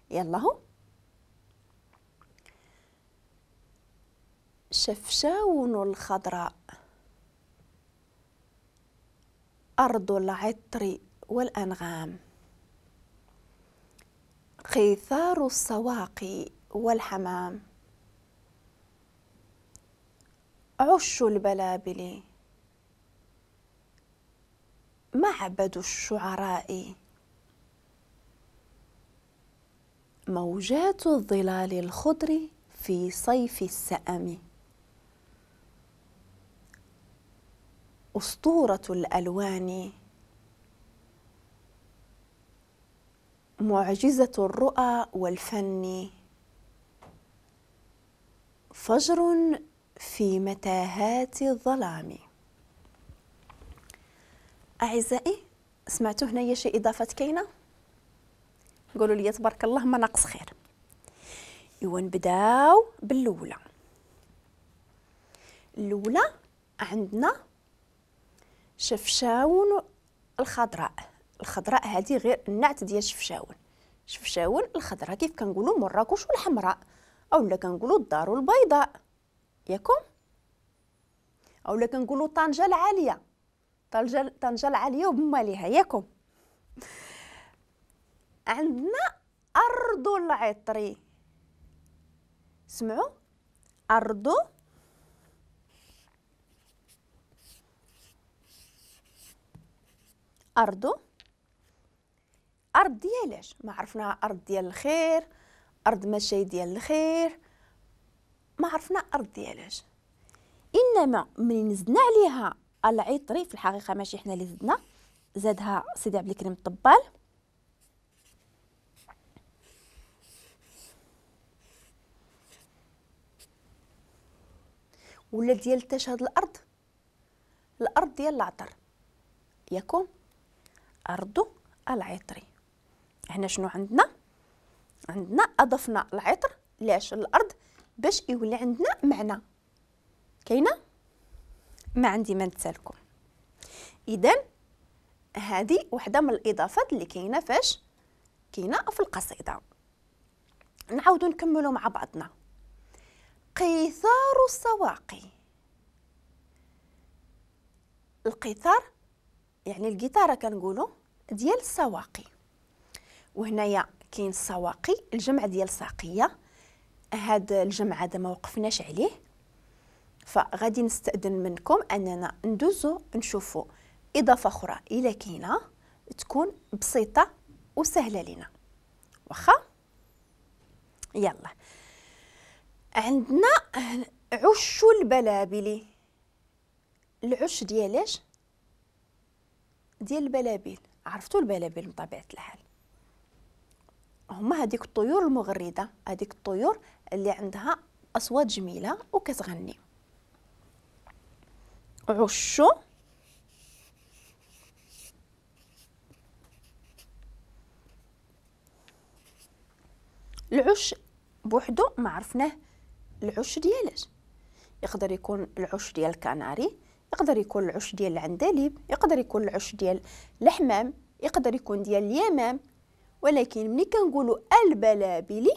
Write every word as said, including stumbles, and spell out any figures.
يلا هو شفشاون الخضراء، أرض العطر والأنغام، قيثار السواقي والحمام، عش البلابل، معبد الشعراء، موجات الظلال الخضر في صيف السأم، أسطورة الألوان، معجزة الرؤى والفن، فجر في متاهات الظلام. أعزائي سمعتوا هنايا شي إضافات كاينة؟ قولوا لي تبارك الله ما ناقص خير. إوا نبداو بالأولى. الأولى عندنا شفشاون الخضراء. الخضراء هذه غير النعت ديال شفشاون. شفشاون الخضراء كيف كنقولوا مراكش والحمراء، اولا كنقولوا الدار البيضاء ياكم، اولا كنقولوا طنجة العالية، طنجة طنجة العالية وبماليها ياكم. عندنا أرض العطر، سمعوا أرض أرض أرض ديالاش؟ ما عرفنا أرض ديال الخير، أرض ماشي ديال الخير، ما عرفنا أرض ديالاش. إنما من زدنا عليها العطري، في الحقيقة ماشي حنا اللي زدنا، زادها سيدي عبد الكريم الطبال. ولا ديال تاش هاد الأرض؟ الأرض ديال العطر ياكم، أرض العطري. هنا شنو عندنا؟ عندنا أضفنا العطر لاش؟ الأرض باش يولي عندنا معنى. كاينة؟ ما عندي ما نتسالكم. إذن هذه وحدة من الإضافات اللي كاينة فاش كاينة في القصيدة. نعاودو نكملو مع بعضنا. قيثار السواقي. القيثار يعني القيثارة كنقولو ديال السواقي، وهنايا كاين السواقي الجمع ديال ساقية. هاد الجمع هذا ما وقفناش عليه، فغادي نستأذن منكم اننا ندوزو نشوفو اضافة اخرى الى كاينة تكون بسيطة وسهلة لينا. واخا يلا عندنا عش البلابل. العش ديالاش؟ ديال البلابل. عرفتوا البلابل بطبيعة الحال هما هذيك الطيور المغردة، هذيك الطيور اللي عندها أصوات جميلة وكتغني. عش العش بوحدو ما عرفناه العش ديالاش. يقدر يكون العش ديال الكناري، يقدر يكون العش ديال العندليب، يقدر يكون العش ديال الحمام، يقدر يكون ديال اليمام. ولكن ملي كنقولوا البلابل